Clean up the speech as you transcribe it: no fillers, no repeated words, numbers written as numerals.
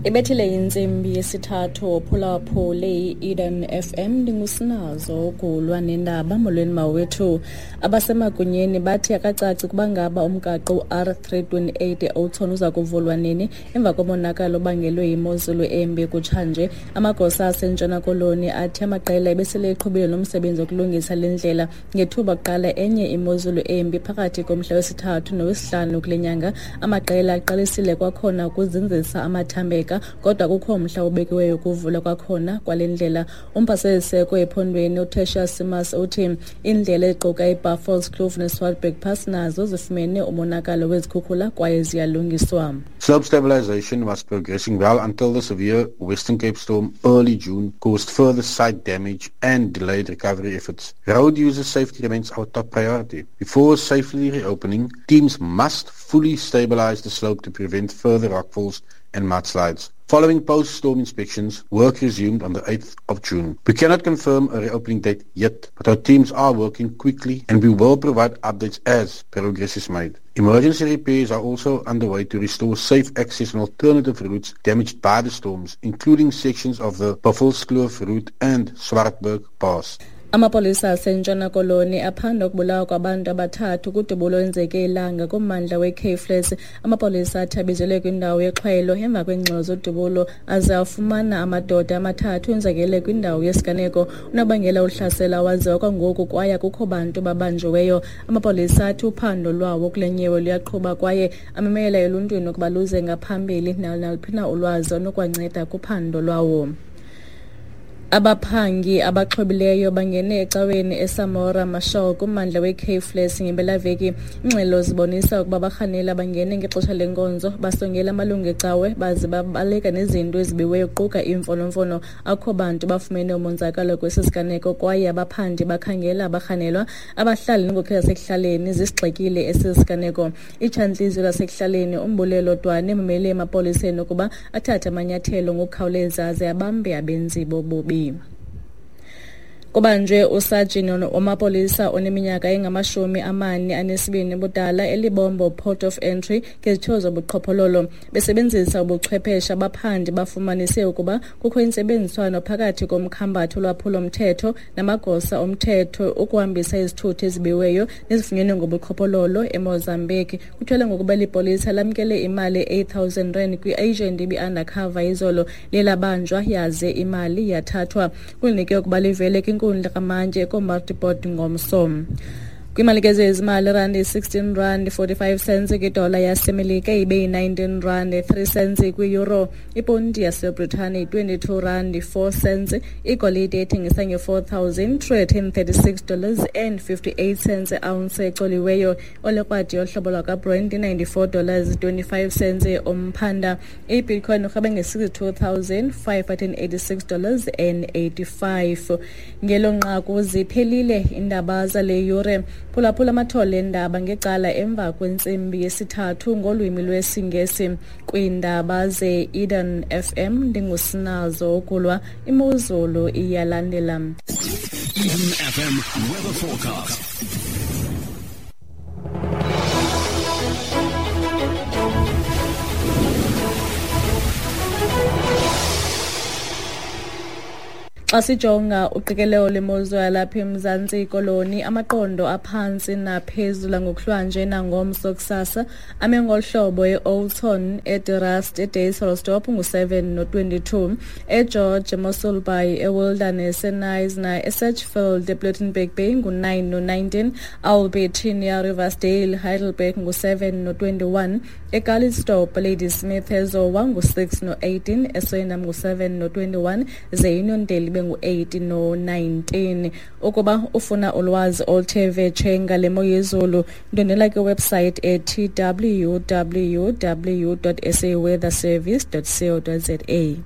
Ibethile intsimbi yesithathu. Phulaphule i-Eden FM, ndingusinazo ugulwa nendaba. Molweni mawethu. Abasemagunyeni bathi akacaci ukuba ngaba umgaqo u-R328 e-Oudtshoorn uza kuvulwa nini emva komonakalo obangelwe yimozulu embi kutshanje. Amagosa aseNtshona Koloni athi amaqela ebesele eqhubile nomsebenzi wokulungisa le ndlela ngethuba kuqala enye imozulu embi phakathi komhla wesithathu nowesihlanu kule nyanga. Amaqela aqalisile kwakhona ukuzinzisa amathambeka, kodwa kukho umhla obekiweyo ukuvulwa kwakhona kwale ndlela. Umpaseziseko ephondweni uTertius Simas uthi iindlela eziquka iBuffelskloof neSwartberg Pass nazo zifumene umonakalo wezikhukhula kwaye ziyalungiswa. Slope stabilization was progressing well until the severe Western Cape storm early June caused further site damage and delayed recovery efforts. Road user safety remains our top priority. Before safely reopening, teams must fully stabilize the slope to prevent further rockfalls and mudslides. Following post-storm inspections, work resumed on the 8th of June. We cannot confirm a reopening date yet, but our teams are working quickly and we will provide updates as progress is made. Emergency repairs are also underway to restore safe access on alternative routes damaged by the storms, including sections of the Buffelskloof route and Swartberg Pass. Amapolisa aseNtshona Koloni aphanda ukubulawa kwabantu abathathu kudubulo olwenzeke ilanga kummandla weCape Flats. Amapolisa athi abizelwe kwindawo yexhwayelo emva kweengxelo zodubulo aze afumana amadoda amathathu enzakele kwindawo yesiganeko. Unobangela uhlasela awaziwa kwangoku kwaye akukho bantu babanjiweyo. Amapolisa athi uphando lwawo kule nyewe luyaqhuba kwaye amemela eluntwini ukuba luze ngaphambili naluphi na ulwazi onokwanceda kuphando lwawo. Abaphangi abaxhobileyo bangene ecaweni eSamora Machel kummandla weCape Flats ngempelaveki. Iingxelo zibonisa ukuba abarhanela bangene ngexesha lenkonzo, basongela amalungu ecawe baze babaleka nezinto ezibiweyo kuquka iimfonomfono. Akukho bantu bafumene umonzakalo kwesi siganeko kwaye abaphandi bakhangela abarhanelwa. Abahlali neenkokheli zasekuhlaleni zisigxekile esi siganeko. Itshantliziyo lasekuhlaleni uMbulelo Dwane umele emapoliseni ukuba athathe amanyathelo ngokukhawuleza aze abambe abenzi bobubi. Kubanjwe usajini wamapolisa oneminyaka engama-42 budala eLibombo Port of Entry ngezityholo zobuqhophololo. Besebenzisa ubuchwepheshe, abaphandi bafumanise ukuba kukho intsebenziswano phakathi komkhambathi wolwaphulo-mthetho namagosa omthetho ukuhambisa izithuthi ezibiweyo nezifunyenwe ngobuqhophololo eMozambique. Kuthwele ngokuba eli polisa lamkele imali 8000 rand kwi-agent ibi-undercover izolo, liye labanjwa yaze imali yathathwa. Kulinike ukuba livele kwinkundla kamantyi eKomatipoort ngomso. Kwimali ke zezimali, rand 16 rand 45 cents kwidola yaseMelika, ibe yi-19 rand 3 cents kwi-euro. Iponti yaseBritane 22 rand 4 cents. Igolide ethengisa nge-$4,336 and 58 cents ounce ecoliweyo. Olekrwadi yohlobo lwakwaBrent 94 dollars 25 cents umphanda. Ibitcoin urhabe nge-$62,586 dollars and 85. Ngelo nqaku ziphelile iindaba zale yure. Phulaphula amathole endaba ngecala emva kwentsimbi yesithathu ngolwimi lwesiNgesi kwiindaba ze-Eden FM. Ndingusinazo ukulwa. Imozulu iyalandela. Eden FM weather forecast. Xa sijonga uqikelelo lemozulu yalapha eMzantsi Koloni, amaqondo aphantsi naphezulu ngokuhlwanje nangomso kusasa ame ngolu hlobo: e-Oudtshoorn, eDe Rust, eDysselsdorp ngu-7 no-22, eGeorge, eMossel Bay, eWilderness, eKnysna, eSedgefield, ePlettenberg Bay ngu-9 no-19, Albertinia, Riversdale, Heidelberg ngu-7 no-21, eCalitzdorp, Ladysmith, eZowa ngu-6 no-18, eSwellendam ngu-7 no-21, ze iUniondale ibe ngu-8 no-19. Ukuba ufuna ulwazi oluthe vetshe ngale mo yezulu, ndwendwela kwiwebsite ethi www.saweatherservice.co.za.